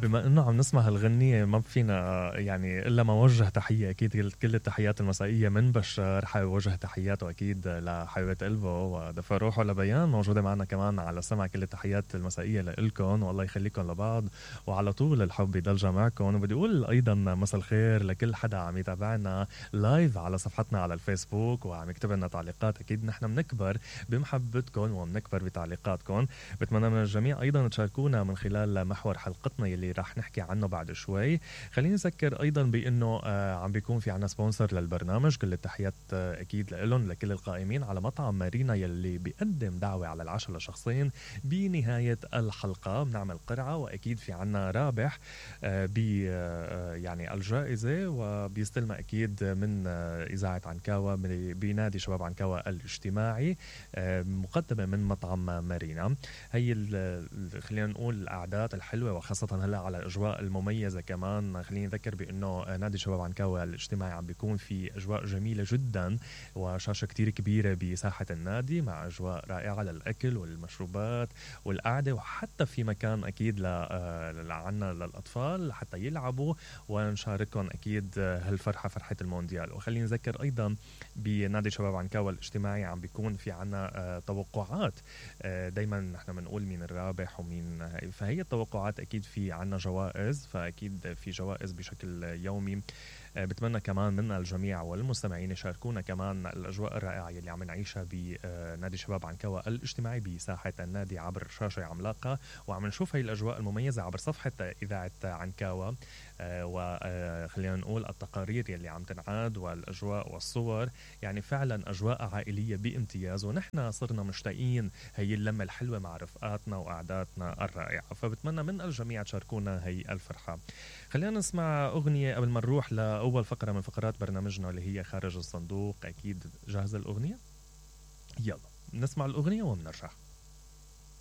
بما انه عم نسمع هالغنية ما فينا يعني الا ما وجه تحية اكيد كل التحيات المسائية من بشار. حابب وجه تحياته اكيد لحبيبة قلبه ودفى روحه لبيان موجودة معنا كمان على السمع. كل التحيات المسائية لإلكم والله يخليكم لبعض وعلى طول الحب يضل معكم. وبدي اقول ايضا مساء الخير لكل حدا عم يتابعنا لايف على صفحتنا على الفيسبوك وعم يكتب لنا تعليقات. اكيد نحن بنكبر بمحبتكم وبنكبر بتعليقاتكم. بتمنى من الجميع ايضا تشاركونا من خلال محور حلقتنا يلي راح نحكي عنه بعد شوي. خليني أذكر أيضا بأنه عم بيكون في عنا سبونسر للبرنامج. كل التحيات أكيد لهم لكل القائمين على مطعم مارينا يلي بيقدم دعوة على العشاء لشخصين بنهاية الحلقة. بنعمل قرعة وأكيد في عنا رابح يعني الجائزة وبيستلم أكيد من إذاعة عنكاوة بنادي شباب عنكاوة الاجتماعي مقدمة من مطعم مارينا. هي خلينا نقول الأعداد الحلوة وخاصة هلا على الأجواء المميزة كمان. خليني أذكر بأنه نادي شباب عنكاوة الاجتماعي عم بيكون في أجواء جميلة جدا وشاشة كتير كبيرة بساحة النادي مع أجواء رائعة للأكل والمشروبات والقعدة وحتى في مكان أكيد عنا للأطفال حتى يلعبوا ونشاركهم أكيد هالفرحة فرحة المونديال. وخليني أذكر أيضا بنادي شباب عنكاوة الاجتماعي عم بيكون في عنا توقعات. دايما نحن بنقول مين الرابح ومين فهي التوقعات أكيد في عنا جوائز. فأكيد في جوائز بشكل يومي. بتمنى كمان من الجميع والمستمعين يشاركونا كمان الأجواء الرائعة اللي عم نعيشها بنادي شباب عنكاوة الاجتماعي بساحة النادي عبر شاشة عملاقة. وعم نشوف هاي الأجواء المميزة عبر صفحة إذاعة عنكاوة. وخلينا نقول التقارير يلي عم تنعاد والأجواء والصور يعني فعلا أجواء عائلية بامتياز. ونحن صرنا مشتاقين هي اللمة الحلوة مع رفقاتنا وأعدادنا الرائعة. فبتمنى من الجميع تشاركونا هي الفرحة. خلينا نسمع أغنية قبل ما نروح لأول فقرة من فقرات برنامجنا اللي هي خارج الصندوق. أكيد جاهزة الأغنية؟ يلا نسمع الأغنية ومنرجع.